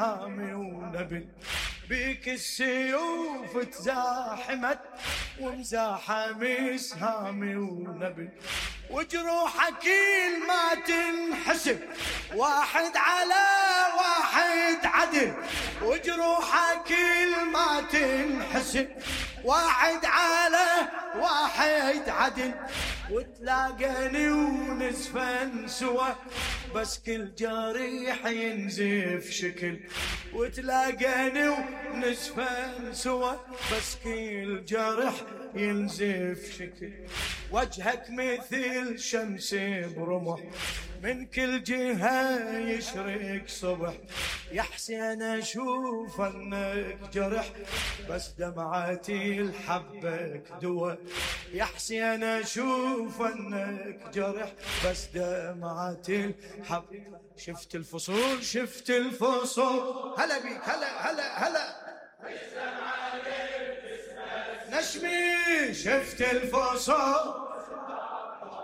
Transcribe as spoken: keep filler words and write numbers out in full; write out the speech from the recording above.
سهامي ونبل، بيك السيوف تزاحمت ومزاحم سهامي ونبل، وجروحك كل ما تنحسب واحد على واحد عدل، وجروحك كل ما تنحسب واحد على واحد عدل، وتلاقني ونزفن سوا بس كل جريح ينزف شكل، وتلاقني ونزفن سوا بس كل جرح ينزف شكل، وجهك مثل شمس برمح من كل جهة يشرق صبح، يا حسين اشوف انك جرح بس دمعتي لحبك دوا، يا حسين اشوف انك جرح بس دمعتي لحبك. شفت الفصول شفت الفصول، هلا بيك هلا هلا هلا نشمي، شفت الفصول